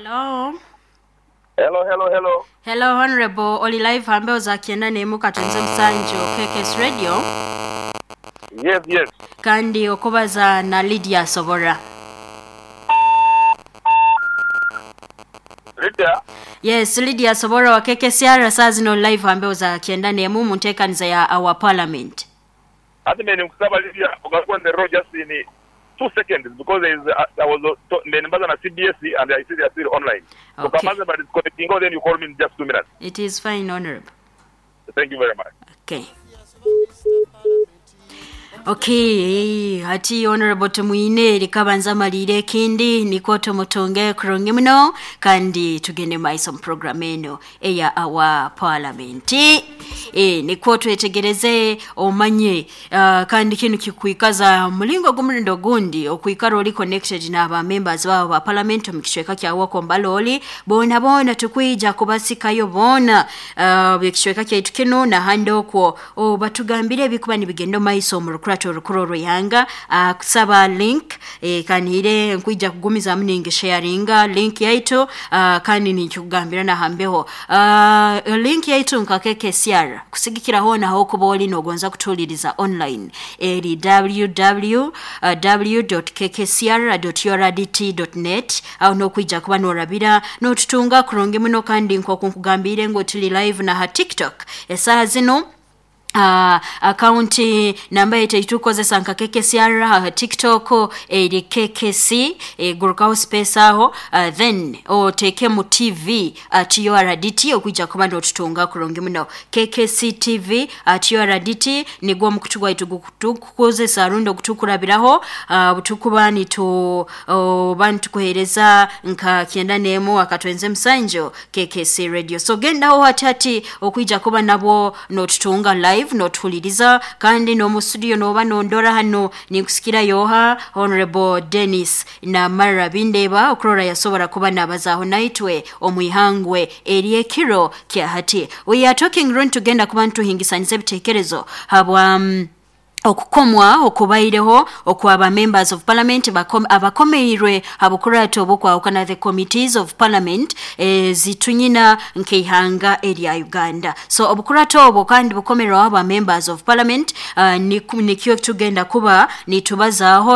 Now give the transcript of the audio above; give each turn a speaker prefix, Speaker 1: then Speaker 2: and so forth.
Speaker 1: Hello.
Speaker 2: Hello, hello, hello.
Speaker 1: Hello Honorable, oli live hambeho za 91 katonze musanju KKS Radio.
Speaker 2: Yes, yes.
Speaker 1: Kandi okubaza na Lydia Sobora.
Speaker 2: Lydia?
Speaker 1: Yes, Lydia Sobora wa KKCR saa zino live hambeho za 91 mu nteekaniza ya Our Parliament.
Speaker 2: Ate mbe nkusaba Lydia ogaruke on the road just in 2 seconds because there is I was mbe nimbaza na CBS and I see they are still online. So kamaze ba disconnecting, then you call me in just 2 minutes.
Speaker 1: It is fine, Honorable.
Speaker 2: Thank you very much.
Speaker 1: Okay. Okay, hati Honorable Tumwine likabanza malire ekindi nikwo tumutunge kurungi muno kandi tugende maiso mu program eno eya Our Parliament. Nikwo twetegereze omanye kandi kinu kikuikaza mulingo gumurindo gundi okuikara oli connected n'aba members babo ba parliament mu kicweka kya Wakombaloli bona bona tukwija kubasikayo bona ekicweka kyaitu kino nahandi okwo batugambire ebikuba nibigenda maiso mu rukurato orukuru orw'ihanga. Kusaba link kanihire nkwija kugumizamu ningi sharinga link yaitu kandi ninkikugambira nahambeho link yaitu nka KKCR kusigikira hona aho kuba oli nogonza kutuuliriza online eri www.kkcr.urdt.net. Aho nokwija kuba norabira notutunga kurungi muno kandi nkoku nkugambire ngu tuli live na ha TikTok esaaha zino. Akaunti namba yetu eitukozesa nka KKCR TikTok eri KKC gurukaho space aho then otekemu TV at URDT okuija kuba notutunga kurungi muno. KKC TV at URDT nigwo omukutu gwaitu gukutukozesa rundi ogutukurabiraho butukuba nitu oba nitukuhereza nka 91 akatwenze musanju KKC Radio. So gendaho hati hati okuija kuba nabwo notutunga live notuhuliriza kandi n'omu studio noba nondora hano ninkusikira yoha Honorable Dennis Namara Bindeba okurora yasobora kuba nabazaho naitwe omwihangwe eryekiro kya hati. We are talking run tugenda kuba ntuhingisaniza ebitekerezo habwa okukomwa okubaireho okwaba members of parliament abakomeirwe habukurato obukwahukana the committees of parliament zitunyina nkeihanga erya Uganda. So obukurato obwo kandi bukomerwaho aba members of parliament nikyo tugenda kuba nitubazaaho.